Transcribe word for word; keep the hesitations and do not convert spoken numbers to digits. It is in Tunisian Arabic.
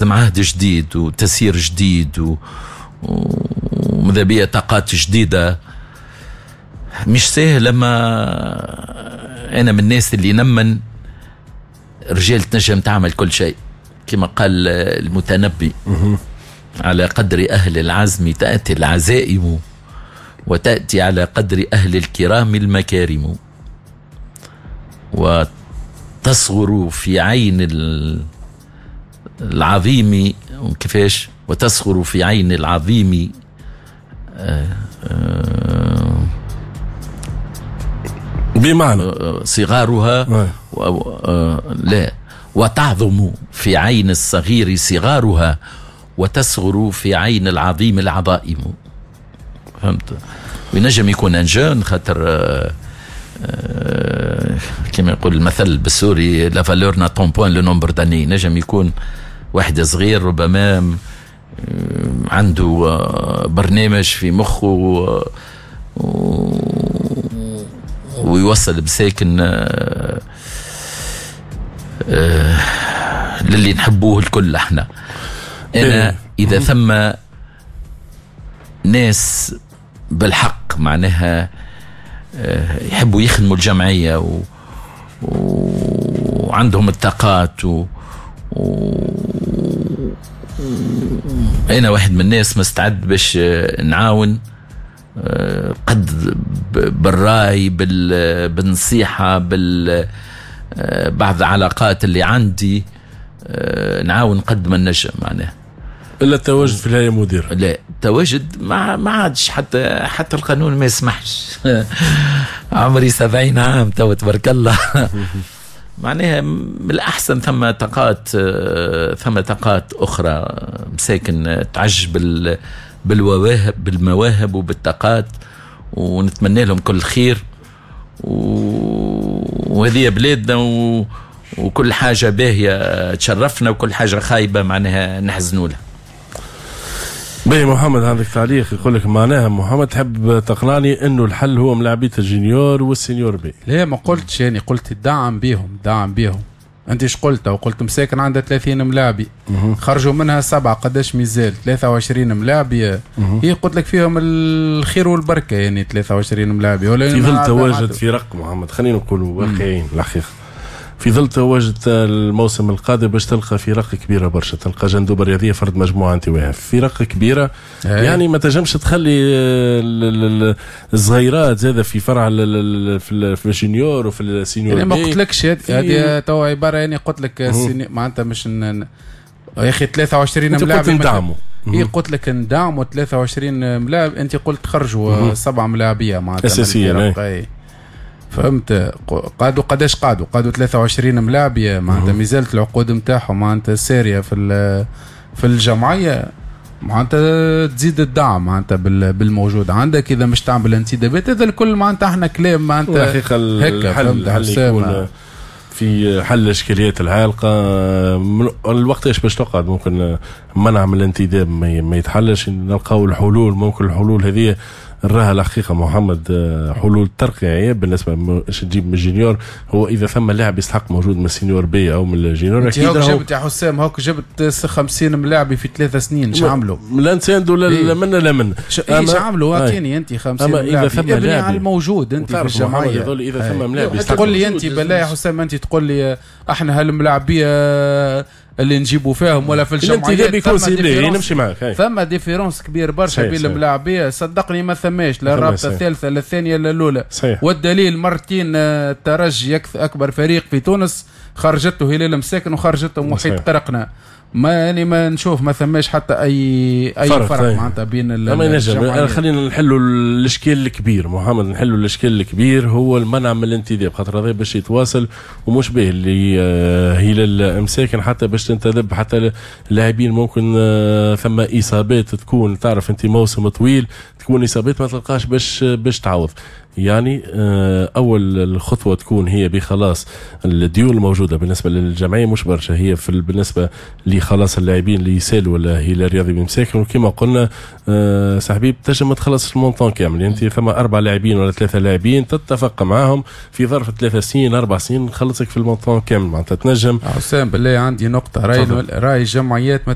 عهد جديد وتسيير جديد و... وماذا بيا طاقات جديدة. مش سهل. لما أنا من الناس اللي نمن رجال تنجم تعمل كل شيء كما قال المتنبي، على قدر أهل العزم تأتي العزائم وتأتي على قدر أهل الكرام المكارم، وتصغر في عين العظيم كيفاش، وتصغر في عين العظيم آه آه بمعنى صغارها و... لا، وتعظم في عين الصغير صغارها وتصغر في عين العظيم العظائم. فهمت؟ وينجم يكون un jeune خاطر آه آه كما يقول المثل بالسوري la valeur n'attend point le nombre d'années. نجم يكون واحد صغير ربما عنده برنامج في مخه ويوصل بساكن للي نحبوه الكل احنا. انا اذا ثم ناس بالحق معناها يحبوا يخدموا الجمعية و... وعندهم الطاقات و... و... انا واحد من الناس مستعد باش نعاون قد بالراي بال... بالنصيحة بال بعض العلاقات اللي عندي نعاون قد ما نجم معناها. الا التواجد في الهيئة مدير؟ لا، التواجد ما ما عادش، حتى حتى القانون ما يسمحش. عمري سبعين عام تو تبارك الله. معناها من الاحسن ثم طاقات، ثم طاقات اخرى مساكن تعج بال بالمواهب بالمواهب وبالطاقات، ونتمنى لهم كل خير. وهذه بلادنا و... وكل حاجة باهيه تشرفنا وكل حاجة خايبة معناها نحزنوا لها. باهي محمد، عندك تعليق يقول لك معناها محمد تحب تقنعني انه الحل هو ملاعبيه ال junior وال senior B؟ لا ما قلتش، يعني قلت الدعم بيهم، دعم بيهم. انت ايش قلت؟ وقلت مساكن عندها ثلاثين ملاعبي خرجوا منها سبعة، قداش ميزال؟ ثلاثة وعشرين ملاعبي. هي قلت لك فيهم الخير والبركة، يعني ثلاثة وعشرين ملاعبي. ولا في ظل تواجد فرق محمد، خلينا نقولوا واقعيين الحقيقة، في ظل تواجد الموسم القادم باش تلقى فرق كبيرة برشا، تلقى جندوبه الرياضية فرد مجموعة انت وياها فرق كبيرة. هاي. يعني ما تنجمش تخلي الصغيرات زاده في فرع في ال junior وفي ال senior. يعني ما قلتلكش هذه تو عبارة، يعني قلت لك معناتها مش ن... يا اخي ثلاثة وعشرين ملاعب ندعموا. هي قلت لك ندعموا ثلاثة وعشرين ملاعب، انت قلت خرجوا سبعة ملاعبيه معناتها اساسية. فهمت؟ قعدوا قداش قعدوا؟ قعدوا ثلاثة وعشرين ملاعبيه معناتها مازالت العقود نتاعهم معناتها ساريه في في الجمعية، معناتها تزيد الدعم معناتها بالموجود عندك. اذا مش تعمل انتدابات هذا الكل معناتها احنا كلام معناتها الحقيقة الحل الحل يكون في حل الاشكاليات العالقة. الوقت ايش باش تقعد ممكن منع من الانتداب ما يتحلش، نلقاو الحلول. ممكن الحلول هذه نراها الحقيقة محمد حلول ترقيعيه بالنسبة باش تجيب من ال junior. هو اذا ثم لاعب يستحق موجود من ال senior B او من ال junior اكيد. هوك جبت يا حسام، هوك جبت خمسين ملاعب في ثلاث سنين، اش عملوا؟ لا نساندوا لا منا لا منا. ايش عملوا؟ اعطيني انت خمسين ملاعب. اذا ثم لاعب على الموجود انت في الجمعية، اذا ثم ملاعب تقول لي انت بالله يا حسام، انت تقول لي احنا هالملاعبيه اللي نجيبوا فيهم ولا في الجمعيات يكون ciblé، نمشي معك. ثم différence كبير برشا بين الملاعبيه، صدقني ما ثماش لا الرابطة الثالثة لا الثانية لا الاولى. والدليل مرتين الترجي اكبر فريق في تونس خرجته هلال مساكن وخرجته محيط قرقنا. ما يعني ما نشوف ما ثماش حتى اي اي فرق, فرق معناتها بين ال خلينا نحلوا الاشكال الكبير محمد، نحلوا الاشكال الكبير هو المنع من الانتداب، خاطر هذا باش يتواصل ومش به اللي هلال مساكن حتى باش تنتدب حتى اللاعبين ممكن ثم اصابات تكون، تعرف انت موسم طويل تكون اصابات ما تلقاش باش باش تعوض. يعني آه، اول الخطوة تكون هي بخلاص الديون الموجودة بالنسبة للجمعيه، مش برشا هي في بالنسبة لخلاص اللاعبين اللي يسالوا ولا هي الرياضي بمساكن. وكما قلنا آه، صاحبي تنجم ما تخلصش ال montant كامل، انت ثم اربع لاعبين ولا ثلاثة لاعبين تتفق معاهم في ظرف ثلاثة سنين اربع سنين نخلصك في ال montant كامل، معناتها تنجم. حسام بالله عندي نقطه، راي راي الجمعيات ما